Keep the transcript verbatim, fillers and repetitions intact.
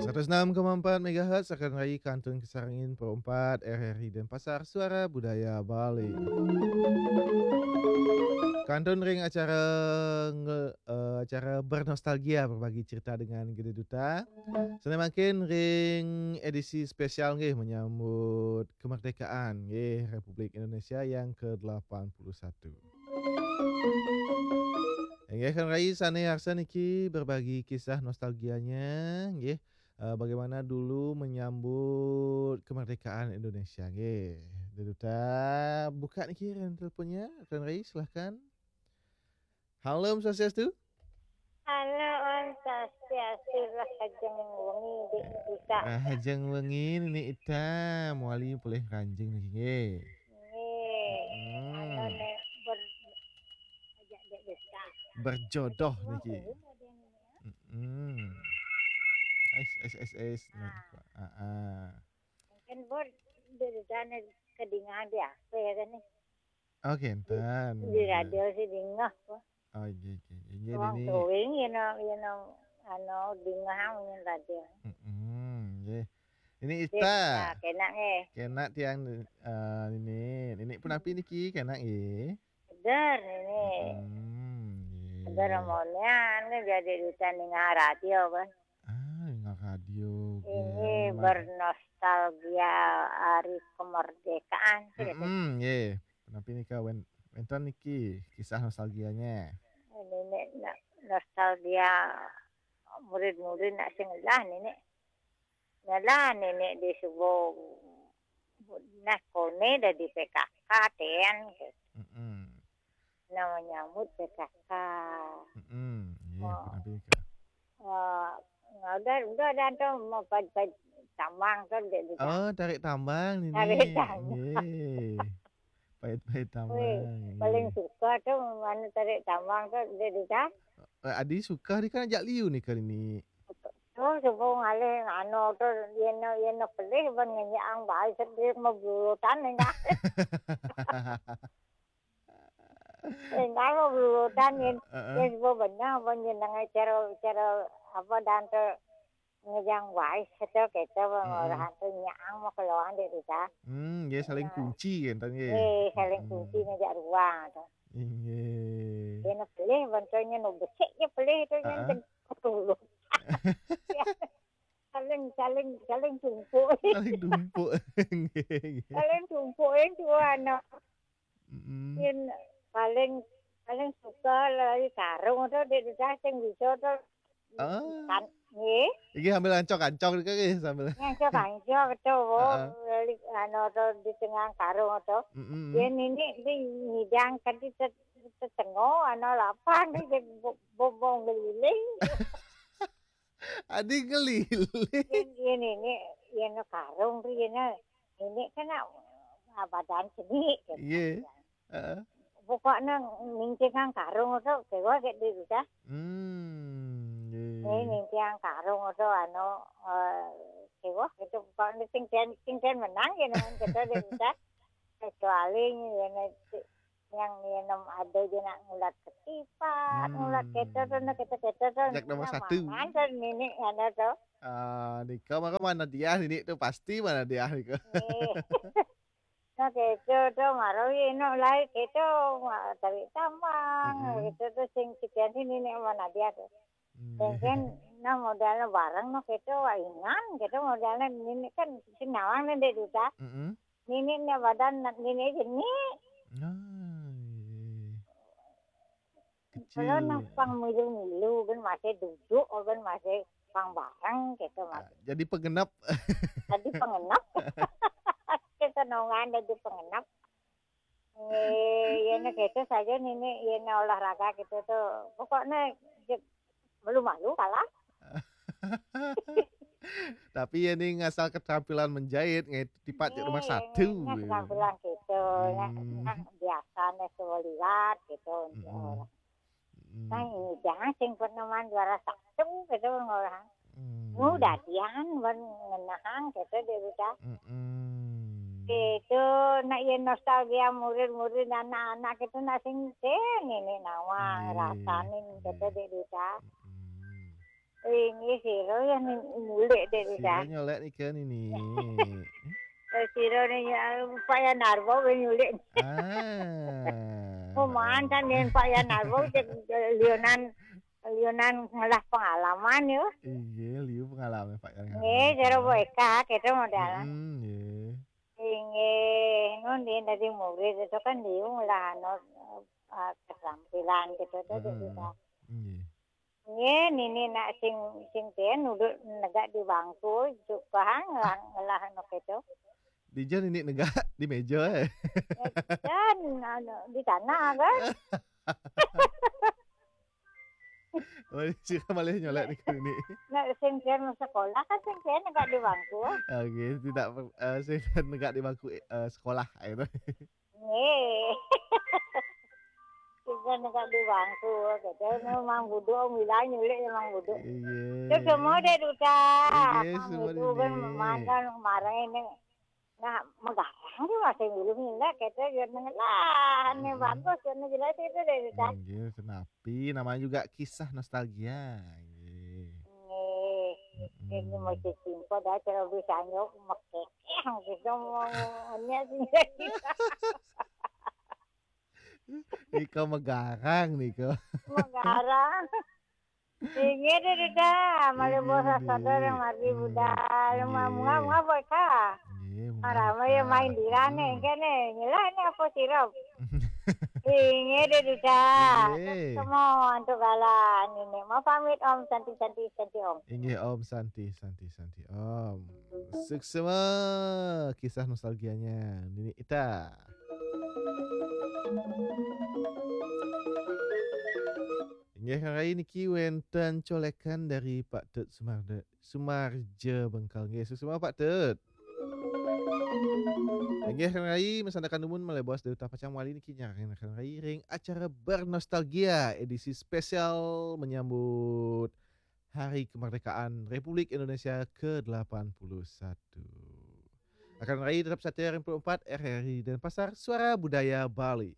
Seratus enam koma empat megahertz akan rai kantun kesarangin perempat R R I Denpasar, Suara Budaya Bali. Kantun ring acara nge, eh, acara bernostalgia, berbagi cerita dengan Gede Duta. Sane mangkin ring edisi spesial nggih menyambut kemerdekaan nggih Republik Indonesia yang kedelapan puluh satu. Inggih kan rai sane arsa niki berbagi kisah nostalgianya nggih. Eh, bagaimana dulu menyambut kemerdekaan Indonesia nggih. Gede Duta buka niki ring teleponnya, kan rai silahkan. Halo, Om Swastiastu. Halo, Om Swastiastu, rahajeng wengi, Dik Ita. Rahajeng wengi, Nini Ita, mawali polih ngranjing niki nggih. Nggih. Hmm. Anu ne ber-, ajak Dik Ita. Berjodoh niki. Hmm. Ais, ais, ais, ais. Ah. Ah, ah. Mungkin bor Dik Ita ne kedingahan di apa ya kan ni? Oh, kenten. Di radio sih dingah kok. Oh, nggih, nggih, nggih. Wong Nini. Tuwing, you know, you know, anu, dingah ring radio. Mm-mm, nggih. Nini Ita. Ita, kenak nggih. Kenak tiang, eh, Nini. Nini punapi niki, kenak nggih. Seger Nini. Mm-mm, nggih. Seger amonnya, anu, jadi Ita ningah radio kan. Ah, ningah radio, nggih. Ini bernostalgia hari kemerdekaan, sih, kata. Mm-mm, nggih. Punapi nika wen-, wenten niki kisah nostalgianya. Ini nak nostalgia murid-murid nak sing ngelah nini. Ngelah nini di subuh nah kone dah di P K K ten. Mm-mm. Nah menyambut P K K. Mm-mm. Iya, oh. Punapi nika. Eh, udah, udah dah tu mau pait-pait tambang tu dia, dia. Oh, tarik tambang nini. Tarik tambang. Nggih. Pait-pait tambang. Weh, nggih. Paling suka tu mana tarik tambang tu dia, dia. Eh, adi suka di kan ajak liu nika Nini. Tu subuh ngalih anu tu, yeno, yeno pelih ban ngenyang bae sedih mau bulutan ningah. Ningah mau bulutan yen, heeh, yen subuh benang ban nyeneng cara, cara apa dan tu ngejang bae sedo keto, hmm, orang tu nyang mau keluar di Ita. Hmm, nggih, saling, ya, kunci kan, nggih. Eh, saling, hmm, kunci ngejak ruang tu. Nggih. Yeno pelih ban tu nyen besik je pelih tu nyen, heeh, ten-, ketulung. Saling, saling, saling tumpuk. Saling tumpuk. Nggih, nggih. Saling tumpuk itu anak. Mm-mm. Yen paling, paling suka lari karung tu, Dik Ita sing bisa tu. Ah. Kan, nggih. Iki sambil ancok-ancok nika nggih, sambil. Ancok-ancok tu, oh, heeh, lari anu tu di tengah karung tu. Mm-mm. Yen ini di ngidang tadi tet-, tetengo, anu lapan, dia bo-, bombong keliling. Adi ngeliling. Yen, yen ini, yen karung tu, yen ini kan nak, ah, badan seni, gitu. Iya. Heeh. Pokoknya nincingan karung tu, kewa ke di Ita. Hmm, iya. Eh, nincingan karung tu, anu, eh, kewa gitu. Pokoknya sing ten, sing ten menang, gitu, gitu, di Ita. Kecuali ini, ini, yang, yang ada je nak ngulat ketipat, hmm, ngulat keto tu, nak keto-keto tu, jak nomor satu. Mangan tu nini, anu tu. Ah, nika maka mana dia nini tu pasti mana dia nika. Eh. Nah, keto tu, maro ye, no, lai keto, ma-, tarik tambang, mm-mm, keto tu, sing sekian sini ni, mana dia tu. Hmm. Mungkin, nah, modalnya bareng, no, keto, wah, ingan, keto modalnya nini kan, sing nawang ni, Dik Ita. Mm-mm. Nini ni badan, nini seni. Ah, iya. Kecil. Kalau nah pang milu-milu, kan masih duduk, kan masih pang bareng gitu, ah, masih. Jadi pengenap. Jadi pengenap. Kita nongan jadi pengenap. Eh, ya, nah, gitu saja nini, ya, nah, olahraga gitu tu. Pokoknya, je-, malu-malu kalah. Tapi ya ni ngasal keterampilan menjahit, ngai tipat di rumah, eh, satu, ngai, ya, keterampilan gitu. Hmm. Nah, nah, biasa nih semua liwat gitu, mm-mm, orang. Mm-mm. Nah, ini jangan sing pernah main juara satu gitu orang. Hmm. Nu dadian ban ngenahang gitu, Dik Ita. Mm-mm. Gitu, nak ya nostalgia murid-murid, anak-anak gitu, nak sing ten ini nawang, iya, rasanin gitu, iya, Dik Ita. Mm-mm. Inggih sira ya nyulik dek. Sira nyolek nika nini. Eh, sira ni ya, Pak Yan Narbo wis nyulik. Ah. Kuman kan yen Pak Yan Narbo cek lionan, lionan ngelah pengalaman yo. Iya, liu pengalaman Pak Yan Narbo. Nggih, cara Pak Eka kita modal. Hmm, nggih. Inggih, nun dia dari murid itu kan liu ngelah anu, eh, keterampilan gitu tuh. Heeh. Nggih. Nggih, nini nak sing, sing ten duduk negak di bangku, tukang ngelah, ngelah anu keto. Di jan ini negak di meja, eh. Dan anu, di tanah kan. Oh, sira malih nyolek niku ini. Nak sing ten sekolah kan sing ten negak di bangku. Oke, tidak per-, eh, sing ten negak di bangku, eh, sekolah, eh, itu. Nggih. Kita negak di bangku, kita memang buduk, bilang nyulik memang buduk. Iya. Terus semua dek duta. Iya, semua buduk kan ini. Mantan kemarin ini. Nah, megarang dia masih milu-milu, kita dia ngelah, ini bagus, ini jelas itu dek duta. Iya, senapi, namanya juga kisah nostalgia. Iya. Nggih. Mm-mm. Ini mesti simpel dah, kalau bisa nyok, mekekeh, gitu, mau, mau, sih. Nika megarang nika. Megarang. Inggih deh, Duta. Malih bos sadar yang mati budal. Nggih. Mau ngapa, Kak? Nggih, mau ngapa? Ramai yang main di rane, kene. Nyelah ini apa sirup? Inggih deh, Duta. Nggih. Semua untuk galan ini. Mau pamit, Om. Santi, santi, santi, Om. Inggih, Om. Santi, santi, santi, Om. Suksma kisah nostalgianya Nini Ita. Inggih, rai niki wenten colekan dari Pak Tut Sumarde, Sumarja Bengkal. Nggih, suksma Pak Tut. Inggih, rai masandekan dumun malih bos Duta pacang wali niki nyarengkan rai ring acara Bernostalgia edisi spesial menyambut Hari Kemerdekaan Republik Indonesia kedelapan puluh satu. Akan rai tetap setia ring empat R R I Denpasar, Suara Budaya Bali.